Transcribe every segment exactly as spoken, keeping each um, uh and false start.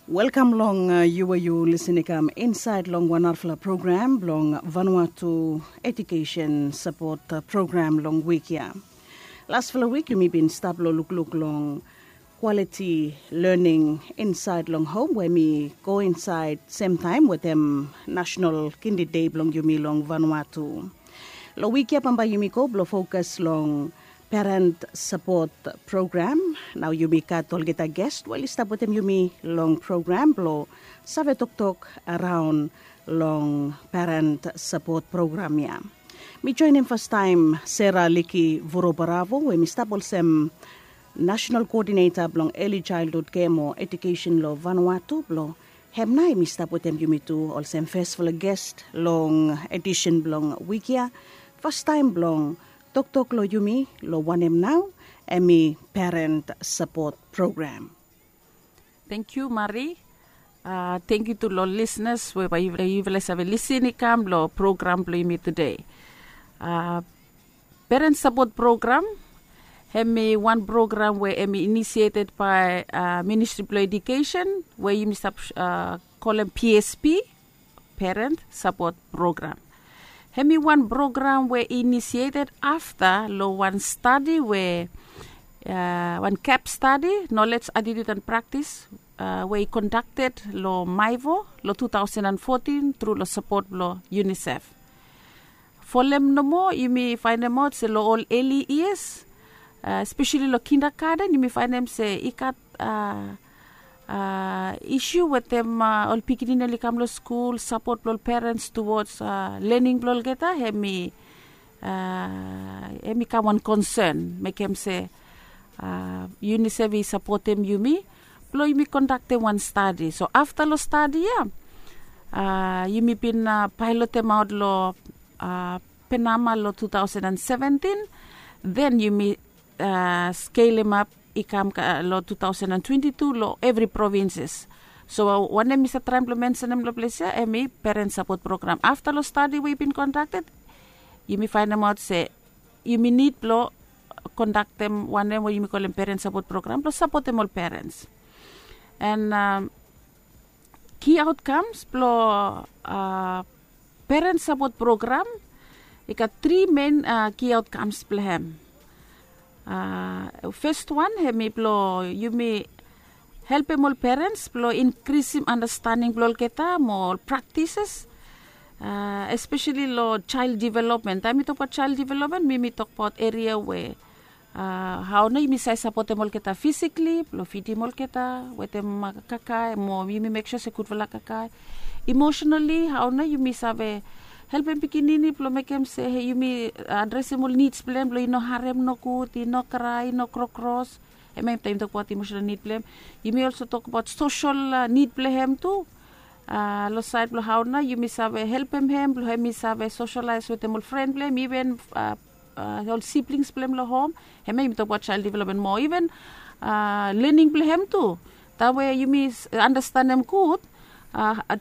Welkam long yu we yu lisin i kam insaed long wan narafala program blong Vanuatu Ejukesen Sapot Program long wik ya. Lasfala wik yumi bin stap long lukluk long kwaliti lening insaed long hom we mi go insaed semtaem wetem Nasenal Kindi Dei blong yumi long Vanuatu. Long wik ya bambae yumi go blong fokas long Peren Sapot Program. Nao yumi gat olgeta ges we oli stap wetem yumi long program blong save toktok araon long Peren Sapot Program ya. Mi joenem fastaem Sera Liki Vurobaravo we mi stap olsem Nasenal Koodineta blong Eli Jaelhud Kem o Ejukesen long Vanuatu blong hem nao hem i stap wetem yumi tu olsem fesfala ges long edisen blong wik ya. Fastaem blong toktok long yumi long wanem nao hem i Peren Sapot Program. Tangkiu Mari. Tangkiu tu long lisnas we bae yufala i save lisin i kam long program blong yumi tude. Peren Sapot Program hem i wan program we hem i inisieted bae Ministri blong Ejukesen we yumi stap kolem P S P, Peren Sapot Program. Hem i wan program we i inisieted afta long wan stadi we wan kep stadi, nolej, atitiud an praktis we i kondakted long Maevo long tu taosen an fotin tru long sapot blong UNICEF. Folem nomo yumi faenemaot se long ol eli yias, espeseli long kindagaden yumi faenem se i gat isu wetem ol pikinini oli kam long skul, sapot blong ol perens tuwods lening blong olgeta hem i hem i kam wan konsen mekem se UNICEF i sapotem yumi blong yumi kondaktem wan stadi. So afta long stadi ya yumi bin paelotemaot long Panama long tu taosen an seventin. Den yumi skelemap i kam long tu taosen an twenti tu long evri provinses. So wanem mi save traem blong mensenem long ples ya hem i Peren Sapot Program. Afta long stadi we i bin kondakted yumi faenemaot se yumi nid blong kondaktem wanem we yumi kolem Peren Sapot Program blong sapotem ol perens. An ki aotkams blong Peren Sapot Program i gat tri men ki aotkams blong hem. Fes wan hem i blong yumi helpem ol perens blong inkrisim anastaning blong olgeta mo ol praktises, espeseli long jael developmen. Taem mi tokbaot jael developmen mi mi tokbaot eria we hao nao yumi save sapotem olgeta fisikli blong fidim olgeta wetem kakae mo yumi meksua se gudfala kakae. Imosenali hao nao yumi save helpem pikinini blong mekem se yumi adresem ol nids blong hem blong i no harem nogud, i no krae, i no krokros. Hem ya taem yumi tokbaot imosenal nid blong hem. Yumi olso tokbaot sosel nid blong hem tu. Long saed blong hao nao yumi save helpem hem blong hem i save soselaes wetem ol fren blong hem iven ol siblings blong hem long hom. Hem ya yumi tokbaot jael developmen mo iven lening blong hem tu. Taem we yumi anastanem gud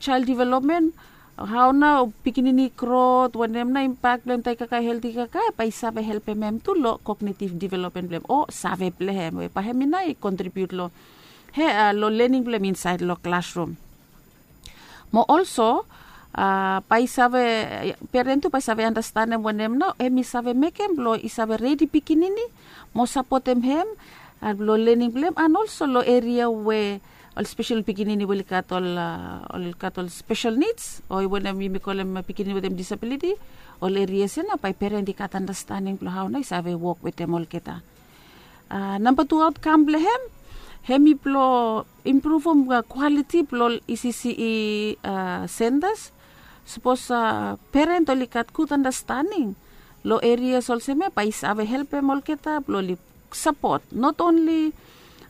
jael developmen, hao nao pikinini grot, wanem nao impak blong hem taem i kakae helti kakae bae i save helpem hem tu long kognetiv developmen blong hem o save blong hem we bae hem i nao i kontribiut long lening blong hem insaed long klasrum. Mo olso bae i save, peren tu bae i save anastanem wanem nao hem i save mekem blong i save redi pikinini mo sapotem hem long lening blong hem an olso long eria we ol spesel pikinini we oli gat ol ol gat ol spesel nids o wanem yumi kolem pikinini wetem disabiliti. Ol erias ya nao bae peren i gat anastaning blong hao nao i save wok wetem olgeta. Namba tu aotkam blong hem hem i blong impruvum kwaliti blong ol E C C E sentas. Sapos peren oli gat gud anastaning long erias olsem ya bae i save helpem olgeta blong oli sapot, not onli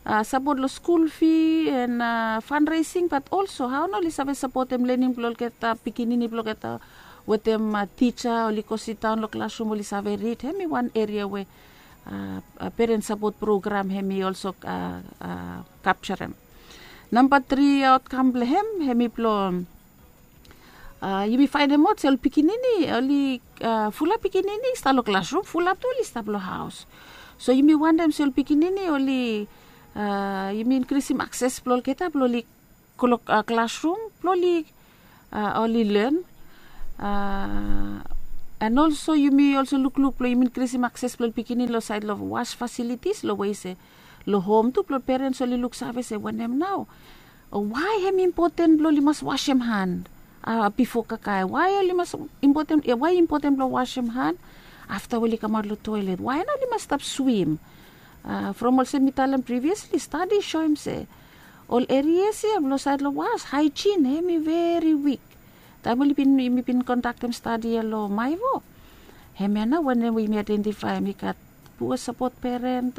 sapot long skul fi an fanresing bat olso hao nao oli save sapotem lening blong olgeta pikinini blong olgeta wetem tija oli go sidaon long klasrum oli save rid. Hem i wan eria we peren sapot program hem i olso kapjarem. Namba tri aotkam blong hem hem i blong yumi faenemaot se ol pikinini oli fulap pikinini i stap long klasrum, fulap tu oli stap long haos. So yumi wantem se ol pikinini oli yumi inkrisim akses blong olgeta blong oli klok klasrum blong oli oli len. And also yumi also lukluk blong yumi inkrisim akses blong ol pikinini long sait long was fasilitis long we se long hom tu blong perens oli luksave se wanem nau, wai hem impoten blong oli mas wasem han bifo kakae? Wai oli mas impoten wai impoten blong wasem han afta we oli kamaot long toilet? Wai nau oli mas stap swim? From olsem mi talem priviasli, stadi i soem se ol erias ya blong sait long was haijin hem i veri wik. Taem oli bin yumi bin kondaktem stadi ya long maivo, hemia nau wanem we yumi aidentifaem i gat pua sapot peren,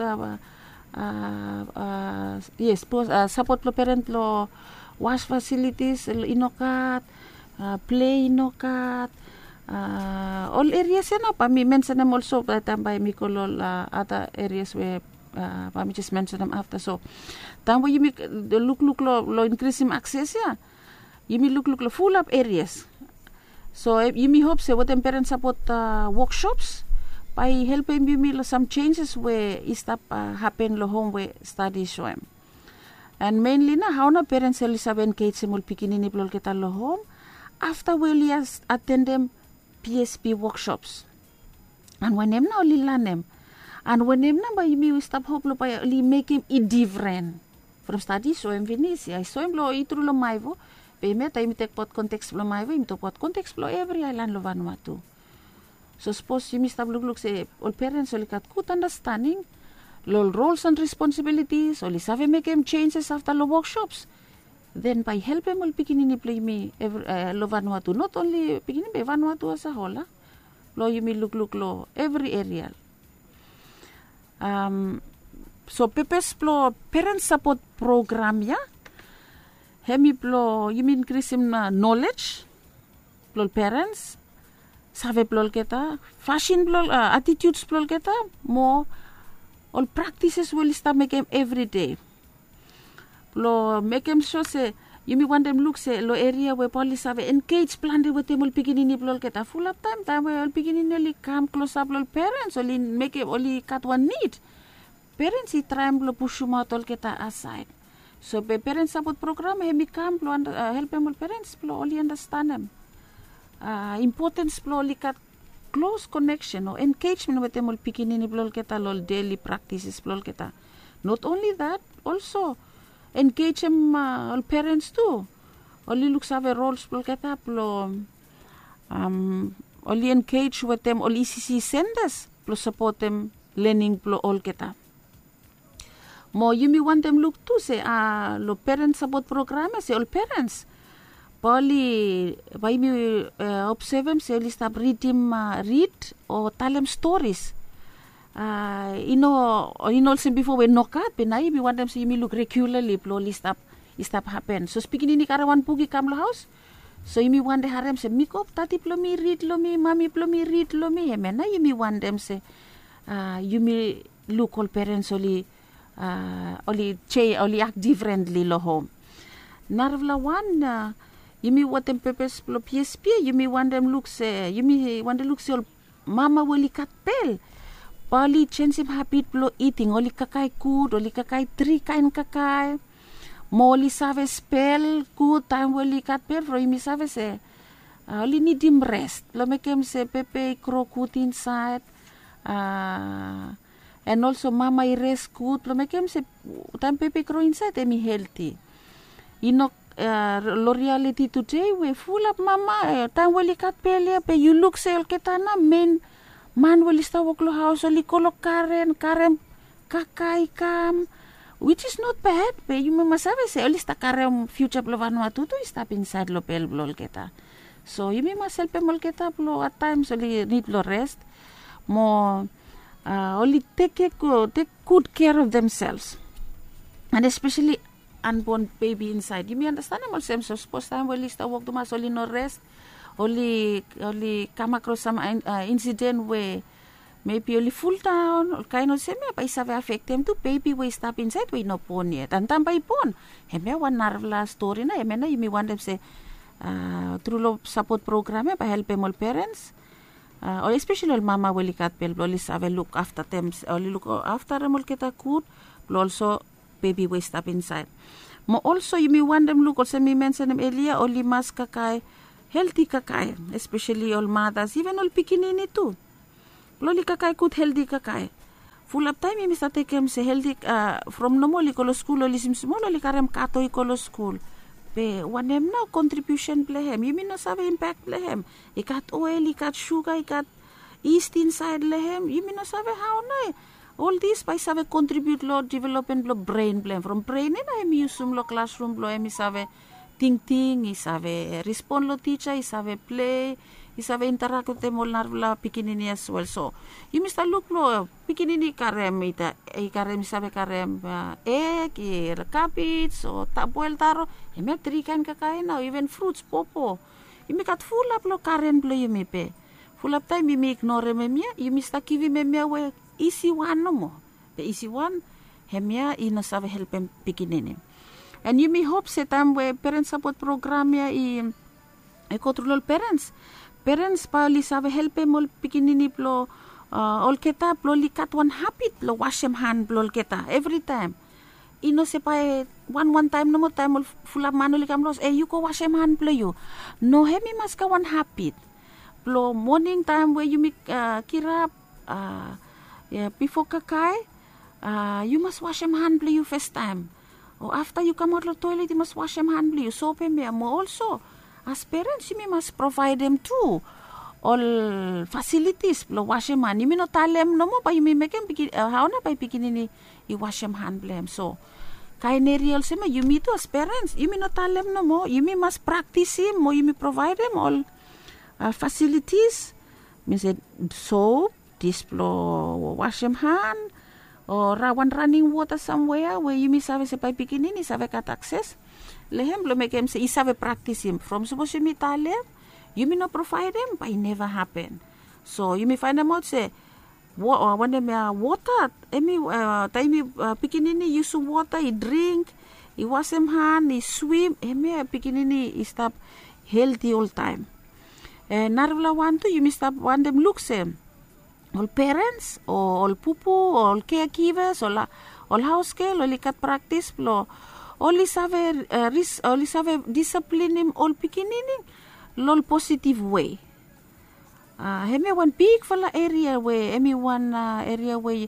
yes, pua sapot blong peren long was fasilitis i no gat, ple i no gat. Ol erias ya nau bae mi mensenem olso bae taem bae mi go long ol ada erias we bae mi jes mensenem afta. So taem we yumi lukluk long inkrisim akses ya, yumi lukluk long fulap erias. So yumi hop se wetem peren sapot woksops bae i helpem yumi long sam senjes we i stap hapen long hom we stadi i soem. And menli nau hao nau perens oli save enkejem ol pikinini blong olgeta long hom afta we oli atendem psp woksops? And wanem nau oli lanem? And wanem nau bae yumi stap hop long bae oli mekem i difren? From stadi i soem finis ya, i soem long i tru long maivo. Be hemia taem yumi tekbaot konteks blong maivo yumi tokbaot konteks blong evri aelan long vanua tu. So sapos yumi stap lukluk se ol perens oli gat gud andastaning long ol rols and responsibilitis, oli save mekem senjes afta long woksops, then bae i helpem ol pikinini blong yumi long vanua tu, not onli pikinini be vanua tu as a hol. Blong yumi lukluk long evri eria. So pepes blong perens sapot program ya hem i blong yumi inkrisim nolej blong ol perens, save blong olgeta, fasin blong atitiuds blong olgeta, mo ol praktises we oli stap mekem evri dei. Blong mekem so se yumi wantem luk se long eria we bae oli save enkej plante wetem ol pikinini blong olgeta. Fulap taem taem we ol pikinini oli kam klosap long ol perens, oli mekem oli gat wan nid, perens i traem blong pusumaot olgeta asaed. So be perens sapot program hem i kam blong helpem ol perens blong oli andastanem impotens blong oli gat klos koneksen o enkejmen wetem ol pikinini blong olgeta long ol deli praktises blong olgeta. Not onli dat, olso enkejem ol perens tu, oli luksave rols blong olgeta blong oli enkej wetem ol ecc sentas blong sapotem lening blong olgeta. Mo yumi wantem luk tu se long perens sapot program ya se ol perens bae oli bae yumi obsevem se oli stap ridim rid o talem storis. I no i no olsem bifo we nogat be nao yumi wantem se yumi luk regulali blong oli stap i stap hapen. Sapos pikinini i karem wan buk i kam long haos, so yumi wantem harem se mi go, dadi blong mi rid long mi, mami blong mi rid long mi. Hemia nao yumi wantem se yumi luk ol perens oli oli akt difrentli long hom. Narafala wan, yumi wetem pepes blong psp yumi wantem luk se yumi wantem luk se ol mama we oli gat bel bae oli jenisim habit blong iting, oli kakae gud, oli kakae tri kaen kakae, mo oli save spel gud taem we oli gat bel from yumi save se oli nidim res blong mekem se pepe i gro gud insaed. En olso mama i res gud blong mekem se taem pepe i gro insaed hem i helti. I no long rialiti tude we fulap mama taem we oli gat bel ya be yu luk se olgeta nao men man we oli stap wok long haos oli go long garen, garen kakae i kam, wits is not bad be yumi mas save se oli stap karem fiuja blong vanua tutu i stap insaed long bel blong olgeta. So yumi mas helpem olgeta blong ataem oli nid blong res mo oli tek gud kea of demsels. And espeseli anbon bebi insaed yumi andastanem olsem sapos taem we oli stap wok tumas oli no res, oli oli kamakros sam insiden we mebi oli fuldaon ol kaen olsem ya bae i save afektem tu bebi we i stap insaed we i no bon yet. Antaem bae i bon, hemia wan narafala stori nao hemia nao yumi wantem se tru long sapot program ya bae helpem ol perens o espeseli ol mama we oli gat bel blong oli save luk afta dem oli luk afta rem olgeta gud blong olso bebi we i stap insaed. Mo olso yumi wantem luk olsem mi mensenem elia, oli mas kakae helti kakae, espeseli ol matas, iven ol pikinini tu. Blong oli kakae gud helti kakae. Fulap taem yumi save tekem se helti, from nomo oli go long skul, oli simsimol, oli karem kato i go long skul. Be wanem nao kontribiusen blong hem? Yumi no save impek blong hem. I gat oel, i gat suga, i gat ist insaed long hem. Yumi no save hao nao ol dis bae i save kontribiut long developmen blong bren blong hem. From bren ya nao hem i yusum long klasrum blong hem i save tingting, i save respon long tija, i save plei, i save interak wetem ol narafala pikinini as wel. So yumi stap luk long pikinini i karem, i karem, i save karem eg, i kabej o boel taro. Hemia tri kaen kakae nao, iven fruts, popo. Yumi gat fulap long garen blong yumi be fulap taem yumi ignorem hemia, yumi stap givim hemia we isi wan nomo. Be isi wan, hemia i no save helpem pikinini. An yumi hop se taem we Parent Support Program ya i i go tru long ol perens, perens bae oli save helpem ol pikinini blong olgeta blong oli gat wan habit blong wasem han blong olgeta evritaem. I no se bae wan wan taem nomo, taem ol fulap man oli kam long haos, e, yu go wasem han blong yu. No, hem i mas gat wan habit blong moning taem we yumi kirap, bifo kakae, yu mas wasem han blong yu fastaem. O afta yu kamaot long toelet yu mas wasem han blong yu. So hemia mo olso as perens yumi mas provaedem tu ol fasilitis blong wasem han. Yumi no talem nomo, bae yumi mekem hao nao bae pikinini i wasem han blong hem. So kaen eria olsem ya, yumi tu as perens yumi no talem nomo, yumi mas praktisim mo yumi provaedem ol fasilitis, mi se, sop, dis blong wasem han, o wan raning wota samwea we yumi save se bae pikinini i save gat akses long hem blong mekem se i save praktisim. From sapos yumi talem, yumi no provaedem, bae i neva hapen. So yumi faenemaot se wanem ya, wota, hemi, taem yumi, pikinini i yusum wota, i dring, i wasem han, i swim, hemia pikinini i stap helti oltaem. Narafala wan tu yumi stap wantem luk se ol perens o ol pupu o ol kegivas o ol haosgel oli gat praktis blong oli save, oli save disaplinim ol pikinini long ol positiv wei. Hemia wan bigfala eria we hemi wan eria we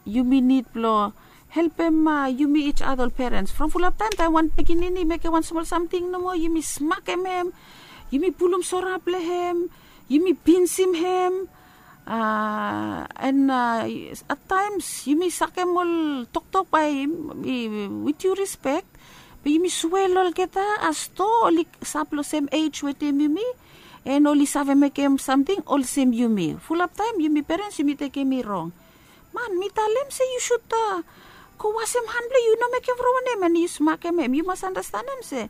yumi nid blong helpem yumi ij ada ol perens. From fulap taem, taem wan pikinini i mekem wan smol samting nomo, yumi smakem hem, yumi pulum sora blong hem, yumi pinsim hem, an ataems yumi sakem ol toktok bae i with due respect, be yumi swea long olgeta as do oli stap long sem ej wetem yumi, an oli save mekem samting olsem yumi. Fulap taem yumi perens yumi tekem i rong. Man, mi talem se yu sud go wasem han blong yu, no mekem from wanem, an yu smakem hem. Yu mas andastanem se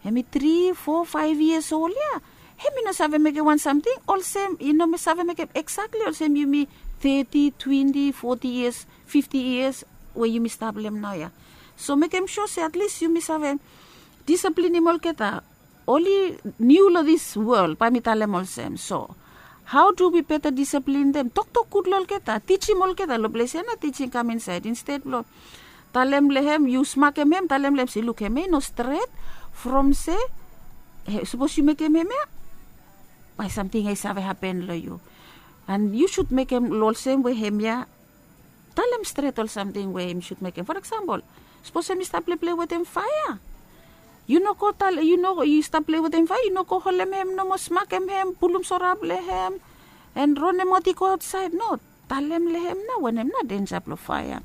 hemi tri, fo, faef yias ol ya, hemi no save mekem wan samting olsem, i no save mekem eksakli olsem yumi teti, twenti, foti yias, fifti yias we yumi stap long hem naoia. So mekem sua se atlis yumi save disaplinim olgeta. Oli niu long dis wol, bae mi talem olsem. So hao du wi beta disaplin dem? Toktok gud long olgeta, tijim olgeta. Long ples ya nao tijing kam insaed. Insted blong talem long hem, yu smakem hem, talem long hem se, luk, hemia i no stret. From se sapos yu mekem hemia, bae samting ya i save hapen long yu. An yu sud mekem olsem we hemia talem stret ol samting we yumi sud mekem. For eksampol, sapos hemi stap pleiplei wetem faea, yu no go talem, yu no, yu stap plei wetem faea, yu no go holem hem nomo, smakem hem, pulum sora blong hem, an ronemaot i go aotsaed. No, talem long hem nao wanem nao denja blong faea.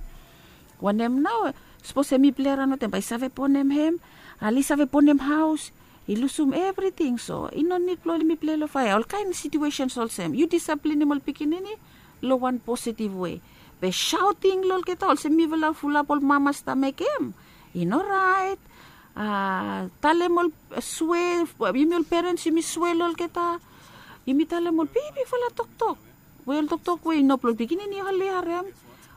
Wanem nao, sapos hemi plei araon wetem, bae i save bonem hem, ali save bonem haos, i lusum evriting. So i no nid blong yumi plei long faea. Olkaen situesens olsem, yu disaplinim ol pikinini long wan positiv wei. Be saoting long olgeta olsem mifala fulap ol mama stap mekem, i no raet. Talem ol swe, yumi ol perens yumi swe long olgeta. Yumi talem ol bigfala toktok we ol toktok we i no blong pikinini oli harem.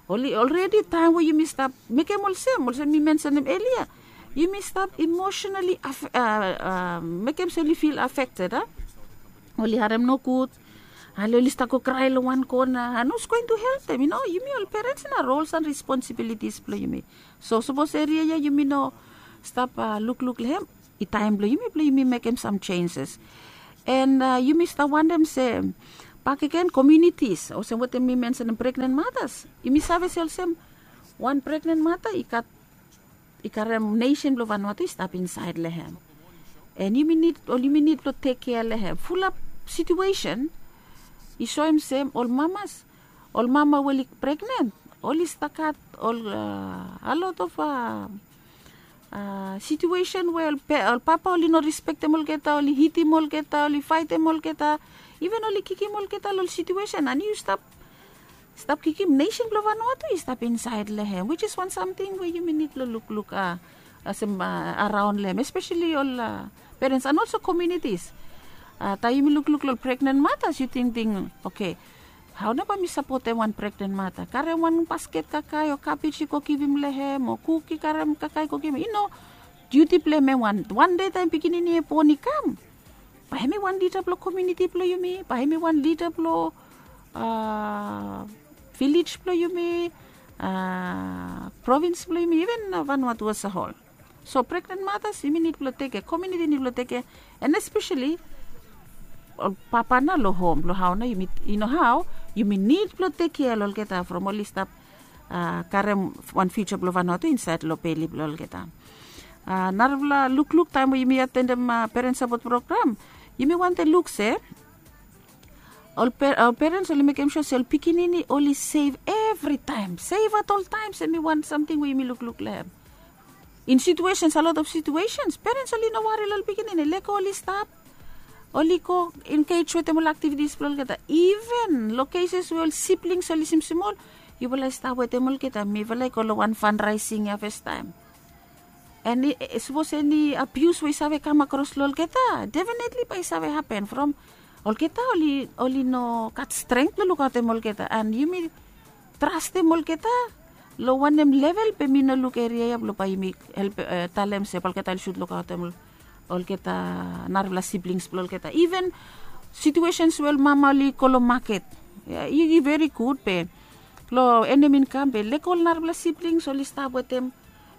Oli olredi taem we yumi stap mekem olsem, olsem mi mensenem elia, yumi stap emosenali mekem se oli fil afekted, a? Oli harem nogud, Ale oli stap go krae long wan kona, and who's going to help them? Yumi ol parents na roles and responsibilities blong yumi. So sapos eria ya yumi no stap lukluk long hem, i taem blong yumi blong yumi mekem sam changes. And yumi stap wantem se bakegen communities olsem wetem mi mensenem pregnant mothers, yumi save se olsem wan pregnant mother i gat i karem nesen blong Vanuatu i stap insaed long hem. And yumi nid ol yumi nid blong tek kea long hem. Fulap situesen i soem se ol mamas, ol mama we oli pregnen, oli stakat ol a lot of a situesen we ol papa oli no rispektem olgeta, oli hitim olgeta, oli faetem olgeta, iven oli kikim olgeta long ol situesen. And yu stap stap kikim nesen blong Vanuatu i stap insaed long hem, which is wan samting we yumi nid long lukluk a olsem araon long hem, espeseli ol parents and olso komunitis. Taem yumi lukluk long ol pregnen matas yu tingting, oke, hao nao bae mi sapotem wan pregnen mata? Karem wan basket kakae o kabej i go givim long hem o kuk i karem kakae i go givim? I no, diuti blong hem. Em wan wan dei taem pikinini e bon i kam, bae hem i wan lida blong komuniti blong yumi, bae hem i wan lida blong vilej blong yumi, provins blong yumi, iven Vanuatu as a hol. So pregnen matas yumi nid blong teke, komuniti nid blong teke, and espeseli ol papa nao long hom blong hao nao yumi, i no hao yumi nid blong tek kea long olgeta from oli stap karem wan fiuja blong Vanuatu insaed long beli blong olgeta. Narafala lukluk taem we yumi atendem peren sapot program, yumi wantem luk se ol perens oli mekem sua se ol pikinini oli sef evritaem, sef at ol taem. Em i wan samting we yumi lukluk long hem. In situesens, a lot of situesens perens oli no wari long ol pikinini, lego oli stap, oli go engej wetem ol aktivitis blong olgeta. Iven long keses we ol siblings oli simsim ol, yufala i stap wetem olgeta, mifala i go long wan fanraesing ya fastaem. And sapos eni abius we i save kam akros long olgeta, definitli bae i save hapen from olgeta oli no gat strength blong lukaotem olgeta. And yumi trastem olgeta long wanem level be mi no luk eria ya blong bae yumi talem se bae olgeta oli sud lukaotem olgeta narafala siblings blong olgeta. Iven situesens we ol mama oli go long maket, i veri gud be long enem i kam be lego ol narafala siblings oli stap wetem.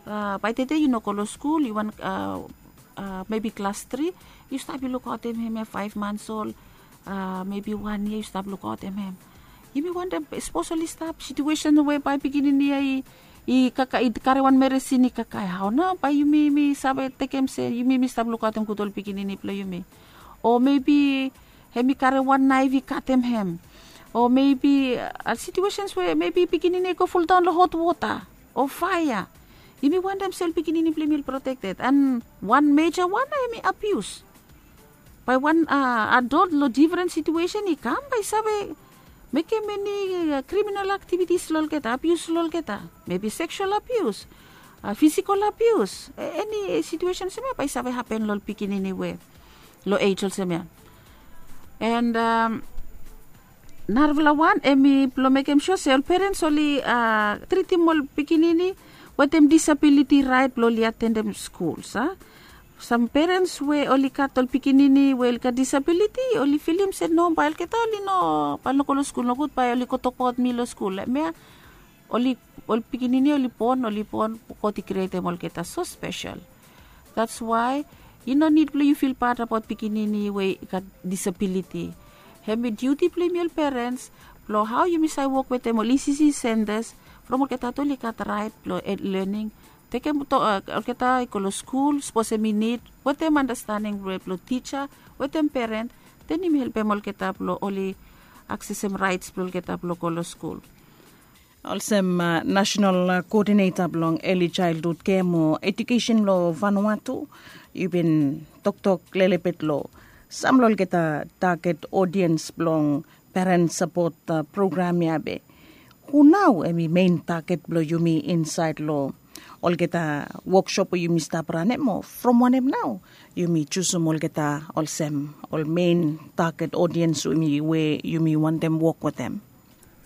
Bae tede yu no go long skul, yu wan mebi klas tri, yu stap yu lukaotem hem ya faef mans ol, mebi wan yia yu stap lukaotem hem. Yumi wantem sapos oli stap situesen we bae pikinini ya i kakae, i karem wan meresin i kakae, hao nao bae yumi mi save tekem se yumi mi stap lukaotem gud ol pikinini blong yumi? O mebi hem i karem wan naef i katem hem. O mebi situesens we mebi pikinini i go fuldaon long hotwota o faea. Yumi wantem se ol pikinini blong yumi oli protekted. And wan meja wan nao hem i abius. Bae wan adol long difren situesen i kam bae i save mekem eni kriminal aktivitis long olgeta, abius long olgeta, mebi seksual abius, fisikol abius, eni situesen olsem ya bae i save hapen long ol pikinini we long ej olsem ya. And narafala wan hem i blong mekem sua se ol perens oli tritim ol pikinini wetem disabiliti raet blong oli atendem skul. Sam perens we oli gat ol pikinini we oli gat disabiliti, oli filim se no, bae olgeta oli no, bae oli no go long skul nogud, bae oli go tokbaot mi long skul. Hem ya oli, ol pikinini oli bon, oli bon, God i krietem olgeta so spesel. That's why i no nid blong yu fil bad abaot pikinini we i gat disabiliti. Hem i diuti blong yumi ol perens blong hao yumi save wok wetem ol ECC sentas from olgeta tu oli gat raet blong lening. Tekem olgeta i go long skul sapos hem i nid, wetem andastaning blong tija wetem peren, den yumi helpem olgeta blong oli aksesem raets blong olgeta blong go long skul. Olsem nasenal koodineta blong eli jaeldhud kem o ejukesen long Vanuatu, yu bin toktok lelebet long sam long olgeta taget odiens blong peren sapot program ya be hu nao hem i men taget blong yumi insaed long olgeta woksop we yumi stap ranem, o from wanem nao yumi jusum olgeta olsem ol men taget odiens we yumi wantem wok wetem?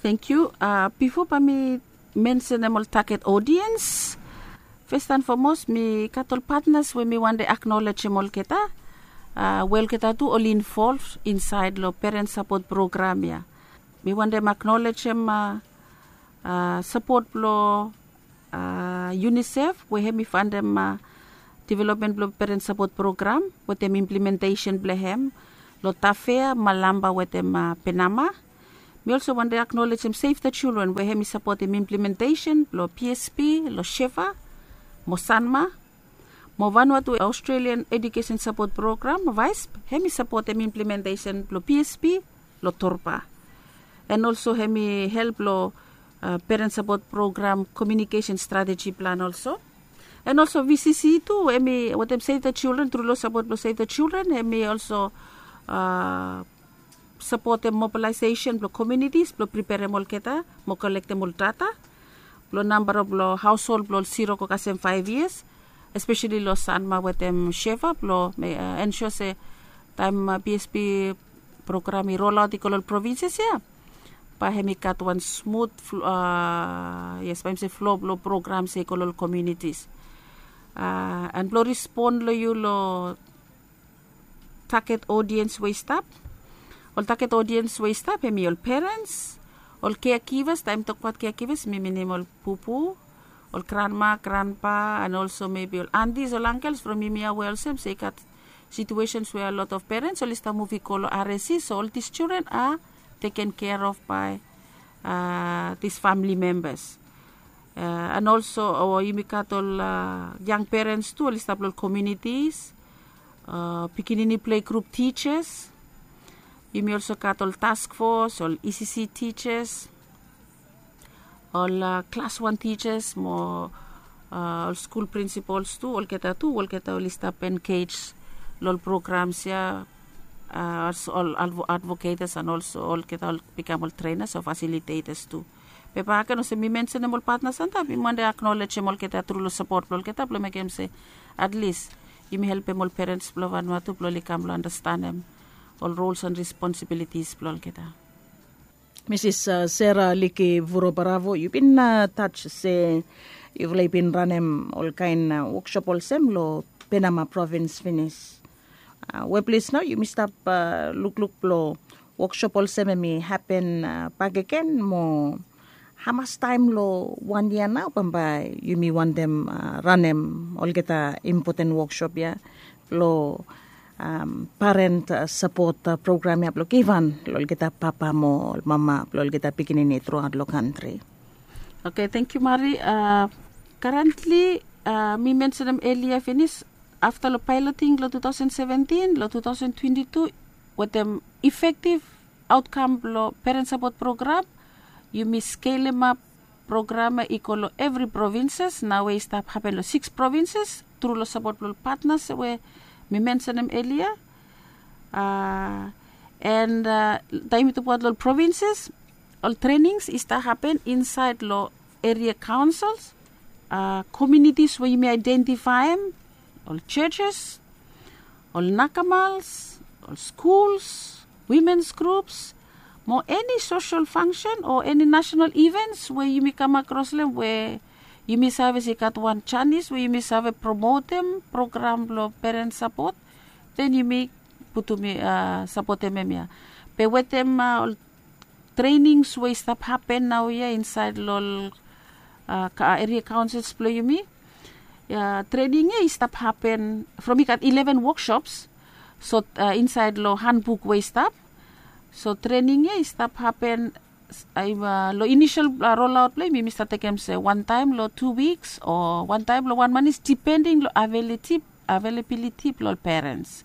Tangkiu. Bifo bae mi mensenem ol taget odiens, fes and fomos mi gat ol patnas we mi wantem aknolejem olgeta. We olgeta tu oli involv insaed long peren sapot program ya. Mi wantem aknolejem sapot blong unisef we hem i fantem developmen blong peren sapot program wetem implementesen blong hem long tafea, malamba wetem penama. Mi olso wantem aknolejem save the children we hem i sapotem implementesen blong psp long shefa mo sanma, mo vanua tu australian edukesen sapot program vaisp hem i sapotem implementesen blong psp long torpa. En olso hem i help long peren sapot program komiunikesen strateji plan olso. En olso vcc tu hem i wetem save the children tru long sapot blong save the children hem i olso sapotem mobilaisesen blong komiunitis blong priperem olgeta mo kolektem ol data blong namba blong haoshol blong ol siro go kasem faef yias, espeseli long sanma wetem shefa blong ensua se taem psp program i rolaot i go long ol provinses ya, bae hem i gat wan smut yes bae hem se flo blong program se i go long ol komiunitis. En blong respon long yu long taget odiens we i stap. Ol taget odiens we i stap hem i ol perens, ol kea givas taem tokbaot kea givas mi minim ol pupu, ol granma, granpa, en olso mebi ol antis ol angels from yumi ya we olsem se i gat situesens we a lot of perens oli stap muv i go long rsc so ol dis children a teken kea of bae dis famili membas. En olso yumi gat ol yang perens tu oli stap long ol komiunitis, pikinini plegrup tijas. Yumi olso gat ol taskfos ol ecc tijas, ol klas wan tijas mo ol skul prinsipols tu olgeta tu olgeta oli stap engej long ol programs ya. Ol advoketas en olso olgeta ol bikam ol trenas o fasilitetors tu. Be baken olsem mi mensenem ol patnas antap mi wantem aknolejem olgeta tru long sapot blong olgeta blong mekem se at least yumi helpem ol perens blong vanua tu blong oli kam long anastenem ol rols en responsibilitis blong olgeta. Misis sera liki vuro baravo yu bin taj se yufala i bin ranem olkaen woksop olsem long penama provins finis. Weples nao yumi stap lukluk blong woksop olsem em i hapen bakegen mo hamas taem long wan yia nao bambae yumi wantem ranem olgeta impoten woksop ya blong paren sapot program ya blong givhan long olgeta papa mo mama blong olgeta pikinini truaot long kantri. Oke, tengkiu mari. Karentli mi mensenem elia finis afta long pailoting long tu taosen seventin long tu taosen twenti tu wetem efektiv aotkam blong peren sapot program, yumi skelemap program ya i go long evri provinses nao we i stap hapen long siks provinses tru long sapot blong ol patnas we mi mensenem elia. En taem i tokbaot long ol provinses ol trenings i stap hapen insaed long eria kaonsels, komiunitis we yumi aedentifaem, ol jejes, ol nakamals, ol skuls, wimens grups, mo eni sosel fangsen o eni nasenal ivens we yumi kam akros long em we yumi save se i gat wan janis we yumi save promotem program blong peren sapot, den yumi putum sapotem em ya. Be wetem ol trenings we i stap hapen naoia insaed long ol eria kaonsels blong yumi. Trening ya i stap hapen from i gat ileven woksops so insaed long hanbuk we i stap. So trening ya i stap hapen long inisel rolaot blong yumi mi stap tekem se wantaem long tu wiks o wantaem long wan manis dipending long aveliti avelebiliti blong ol perens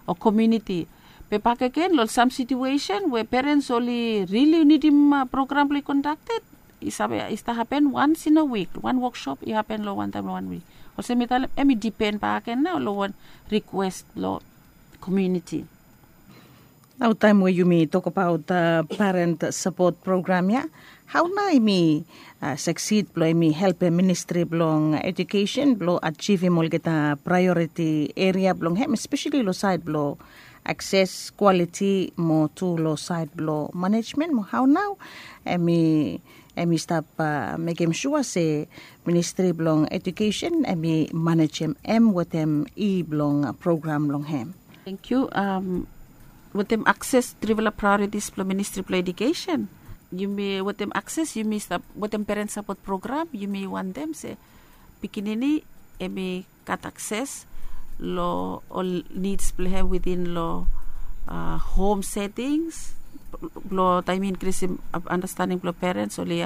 o komiuniti. Be bakegen long sam situesen we perens oli rili nidim program blong i kondakted, i save i stap hapen wans in a wik wan woksop i hapen long wantaem long wan wik. Olsem mi talem em i dipen bakegen nao long wan rikwes blong komiuniti. Nao taem we yumi tokbaot paren sapot program ya, hao nao em i saksid blong em i helpem ministri blong ejukesen blong ajivim olgeta praeoriti eria blong hem espeseli long saed blong akses kwaliti mo tu long saed blong manejmen mo hao nao em i em i stap mekem sua se ministri blong ejukesen em i manejem em wetem i blong program blong hem? Thank you. Um, wetem akses trifala priorities blong ministri blong edukesen, yumi wetem akses yumi stap wetem parent support program, yumi wantem se pikinini emi gat akses lo ol needs blong hem within lo uh, home settings, blong taim inkrisim understanding blong parents, oli